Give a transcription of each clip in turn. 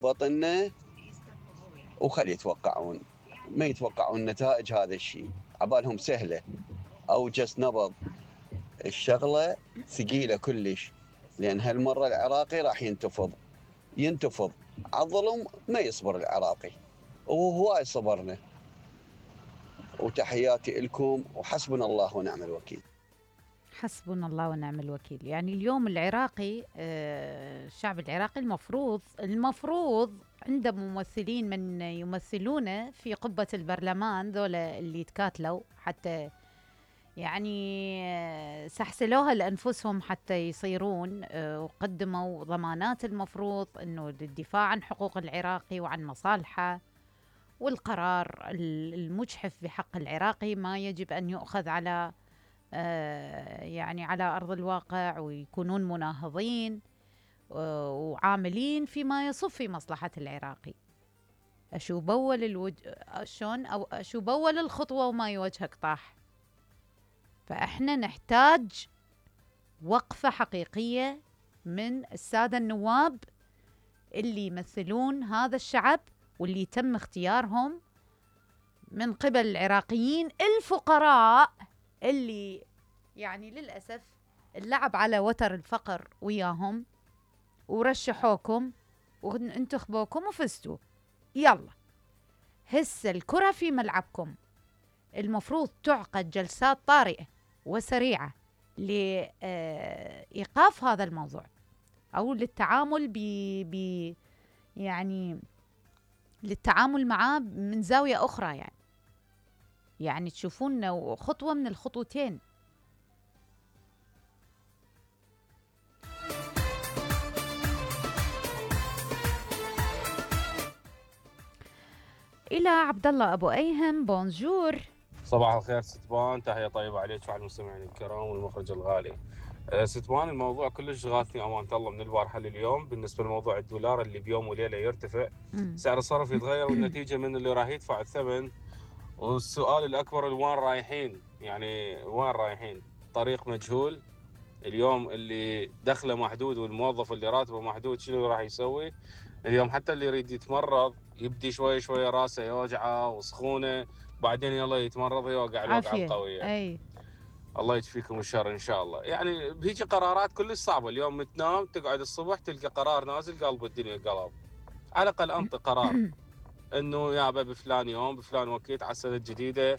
بطننا وخلي يتوقعون، ما يتوقعون نتائج هذا الشيء، عبالهم سهلة أو جس نبض. الشغلة ثقيلة كلش، لأن هالمرة العراقي راح ينتفض على الظلم، ما يصبر العراقي، وهواي صبرنا. وتحياتي لكم، وحسبنا الله ونعم الوكيل. حسبنا الله ونعم الوكيل. يعني اليوم العراقي، الشعب العراقي المفروض عنده ممثلين من يمثلونه في قبة البرلمان، ذولا اللي تكاتلوا حتى يعني سحسلوها لأنفسهم حتى يصيرون، وقدموا ضمانات المفروض أنه للدفاع عن حقوق العراقي وعن مصالحه، والقرار المجحف بحق العراقي ما يجب أن يؤخذ على يعني على أرض الواقع، ويكونون مناهضين وعاملين فيما يصب في مصلحة العراقي. أشو بول شلون أو أشو بول الخطوة وما يوجهك طاح. فإحنا نحتاج وقفة حقيقية من السادة النواب اللي يمثلون هذا الشعب، واللي تم اختيارهم من قبل العراقيين الفقراء، اللي يعني للأسف اللعب على وتر الفقر وياهم، ورشحوكم وانتخبوكم وفزتوا. يلا هسه الكرة في ملعبكم. المفروض تعقد جلسات طارئة وسريعة لإيقاف هذا الموضوع، أو للتعامل يعني للتعامل معاه من زاوية أخرى، يعني تشوفون خطوة من الخطوتين. إلى عبد الله أبو أيهم، بونجور. صباح الخير ستبان، تحية طيبة عليك وعلى المستمعين الكرام والمخرج الغالي. ستبان، الموضوع كلش غاثني أمانة الله من البارحة لليوم بالنسبة لموضوع الدولار اللي بيوم وليلة يرتفع، سعر الصرف يتغير، والنتيجة من اللي راح يدفع الثمن. والسؤال الأكبر، وين رايحين؟ يعني وين رايحين؟ طريق مجهول. اليوم اللي دخله محدود والموظف اللي راتبه محدود شنو راح يسوي؟ اليوم حتى اللي يريد يتمرض يبدي شوي شوي راسه يوجعه وسخونه، بعدين يلا يتمرض يوقع الوقعه عافية. القويه. أي الله يشفيكم الشر ان شاء الله. يعني بهيجي قرارات كلش صعبه، اليوم تنام تقعد الصبح تلقى قرار نازل قلب الدنيا قلب. على الاقل انطي قرار انه يابا بفلان يوم بفلان وقت على السنه الجديده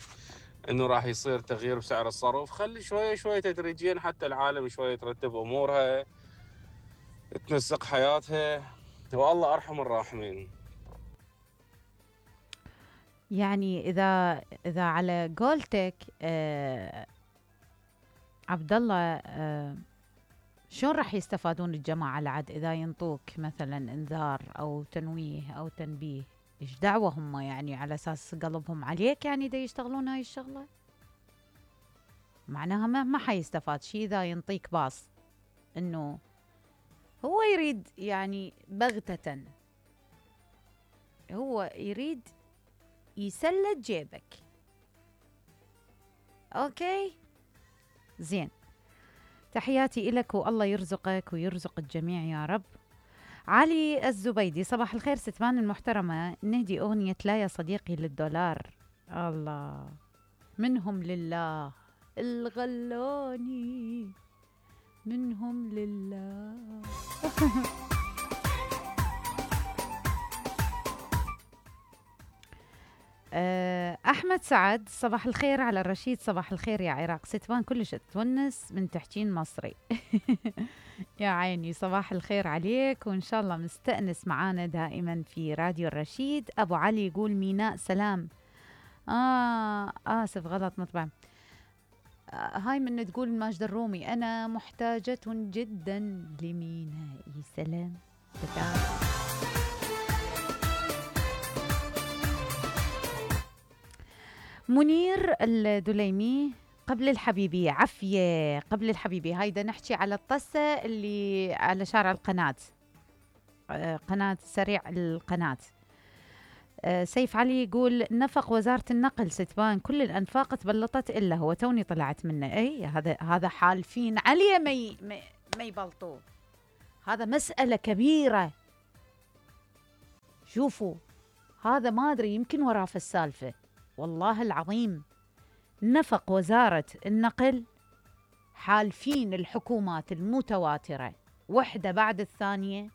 انه راح يصير تغيير بسعر الصرف. خلي شوي شوي تدريجيا حتى العالم شوي ترتب امورها، تنسق حياتها، والله ارحم الراحمين. يعني إذا على قولتك عبد الله، شلون راح يستفادون الجماعة العاد إذا ينطوك مثلا إنذار أو تنويه أو تنبيه؟ إيش دعوة هم؟ يعني على أساس قلبهم عليك يعني دا يشتغلون هاي الشغلة؟ معناها ما حيستفاد شي إذا ينطيك باص، إنه هو يريد يعني بغتة، هو يريد يسلت جيبك. أوكي زين، تحياتي إلك والله يرزقك ويرزق الجميع يا رب. علي الزبيدي، صباح الخير ستمان المحترمة، نهدي أغنية لا يا صديقي للدولار. الله، منهم لله الغلوني، منهم لله. أحمد سعد، صباح الخير على الرشيد، صباح الخير يا عراق، ستبان كلش تونس من تحكين مصري. يا عيني، صباح الخير عليك، وإن شاء الله مستأنس معانا دائما في راديو الرشيد. أبو علي يقول ميناء سلام. آسف غلط مطبع. هاي من تقول ماجد الرومي، أنا محتاجة جدا لميناء سلام. منير الدليمي، قبل الحبيبي عفية، قبل الحبيبي هايدا نحكي على الطسة اللي على شارع القناة، قناة سريع القناة. سيف علي يقول نفق وزارة النقل ستبان كل الأنفاق تبلطت إلا هو، توني طلعت منه. أي هذا حالفين عليه ما يبلطوه، هذا مسألة كبيرة. شوفوا هذا ما أدري يمكن وراه في السالفة، والله العظيم نفق وزارة النقل حالفين الحكومات المتواترة وحدة بعد الثانية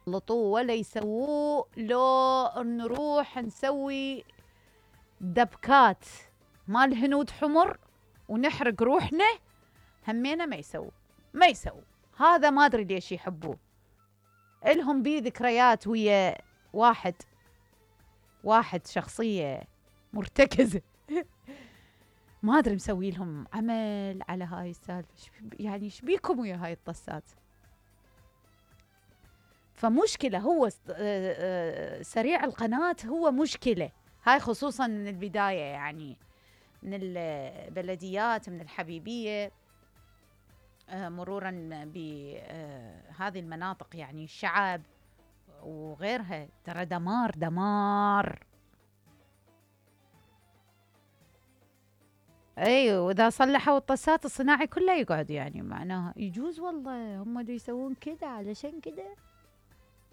لطوا ولا يسووه، لو نروح نسوي دبكات مال هنود حمر ونحرق روحنا همينا ما يسووا. هذا ما أدري ليش يحبوه. إلهم بيه ذكريات ويا واحد شخصية مرتكزة ما أدري مسوي لهم عمل على هاي السالفة. يعني شبيكم ويا هاي الطسات؟ فمشكلة هو سريع القناة هو مشكلة هاي، خصوصا من البداية، يعني من البلديات، من الحبيبية، مرورا بهذه المناطق، يعني الشعب وغيرها، ترى دمار. اي، واذا صلحوا الطسات الصناعي كله يقعد، يعني معناها يجوز والله هم اللي يسوون كذا علشان كذا.